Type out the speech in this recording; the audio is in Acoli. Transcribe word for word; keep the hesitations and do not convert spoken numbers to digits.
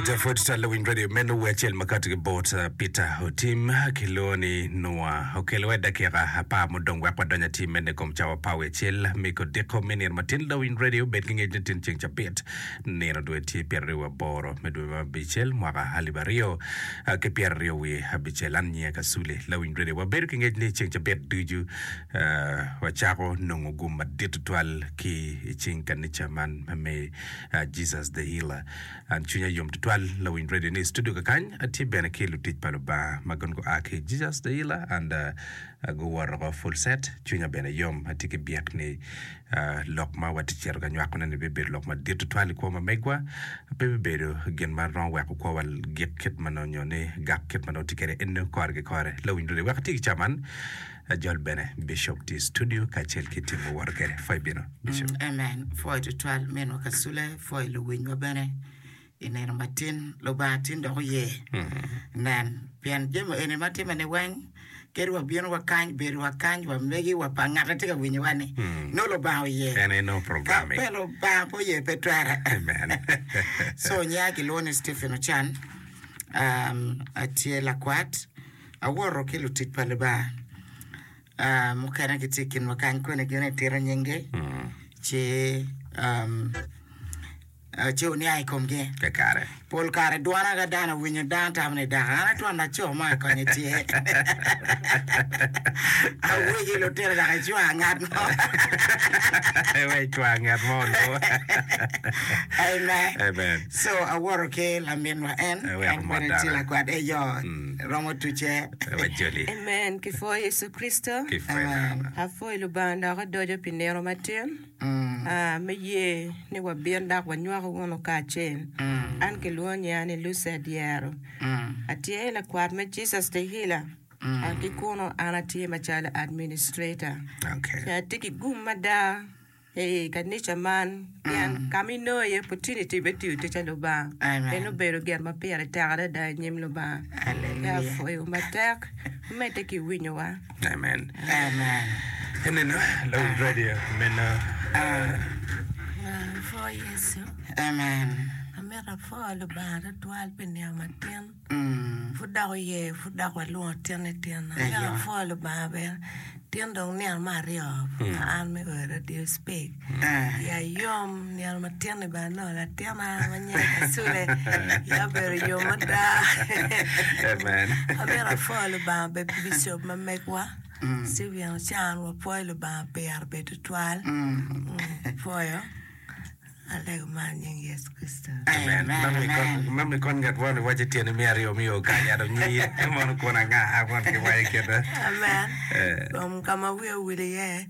Alright, pwod twal lawiny radio meno wer acel ma kati ki bot uh, Peter Otim kilwongo ni Noa okelo wa dakika apar mudong wek wadony atir mene i kom cawa apar wiye acel me kodiko me nino matin lawiny radio bed ki ngec ni tin ceng cabit nino dwe tye pyeraryo wiye aboro me dwe ma abicel mwaka alip aryo uh, ki pyeraryo wiye abicel an nyinga Kasule lawiny radio wabedo ki ngec ni ceng cabit ducu uh, wacako nongo gum madit tutwal ki i cing kanica man me uh, Jesus the Healer an cwinya yom tutwal lawiny radio ni i studio kakany atye bene ki lutic pa Lubanga ma gin gua ki Jesus the Healer and uh, guwoto ko full set cwinya bene yom atye ki byek ni uh, lok ma watye cito ka nywakone ni bibedo lok madit tutwal i kwo ma megwa pe bibedo gin ma romo weko kwowa gik kit ma nongo nyo ni gak kit ma nongo tye kwede eno kore ki kore lawiny radio wek ati ki caman ajol bene Bishop tye i studio kacel ki timo woto kwede fai bino Bishop. Mm, amen. Pwoyo tutwal minwa Kasule, pwoyo luwinywa bene i nino matin. Lubanga tin dok oye. Nen, pien jami eni ma timme ni weng, kadi wabino wa kany, bedo wa kany, wa megi, wa pa ngat atye ka winyowa ni, nongo Lubanga oye. En aye nongo Ka programming. pe Lubanga pe oye pe twere. Amen. So nyinga kilwongo ni Stephen Ocan, um, atye lakwat, awoto ki lutic pa Lubanga. Uh, mukene gitye i kinwa kany kwene gin itito nyinggi ci um, uh, ci oniang i komgi. Kakare. Pol kare dwana ka dano owinyo dano tamo ni dako an atwon laco mo akonye tye. Awegi lutino dok icwa ngat mo. We icwa ngat mo onongo. Amen. Amen. So awoto ki laminwa en, Aweko en mot bene tye dano. lakwat eyo romo tuce. Wajoli. Amen. Kipwoyo Yecu Kricito. Kipwoyo Amen. dano. Apwoyo Lubanga dok odoco pi nino matin. Ah, me ye ni wabin dok wanywako wunu kacel. An kilwongo nyinga ni Lucy Adyero. Atye lakwat me Jesus the Healer. An ki kuno an atye macalo administrator. Okay. Ci atye ki gum mada i kanica man pien ka ma inongo iye opportunity me tiyo tic a Lubanga Amen. en obedo gin ma pire tek adada i nyim Lubanga. Hallelujah. Apwoyo matek medde ki winyowa. Amen. Amen. Eneno lawiny radio meno Apwoyo Yecu. Amen. Amito apwoyo Lubanga tutwal pi nino matin. Mm. Pud dok oye, pud dok walwongo tin i tin. Amito Eyo. apwoyo Lubanga bene. Tin dong nino me aryo ma an me oyo radio speak. Eh. Ya yom nino matin ni bene nongo latina ma nyinge Kasule. Ya obedo yom mada. Amen. Amito apwoyo Lubanga be Bishop ma megwa. Stephen Ocan wapwoyo Lubanga pire be tutwal. Mm, Pwoyo. Alego man nying Yecu Kricito. Amen. Amen. Mami kon Amen. mami kon ngat won iwaco tyene me aryo miyo kany ato nyi mono kun anga won ki waco kite. Amen. Eh. Um, ka ma wiya owil iye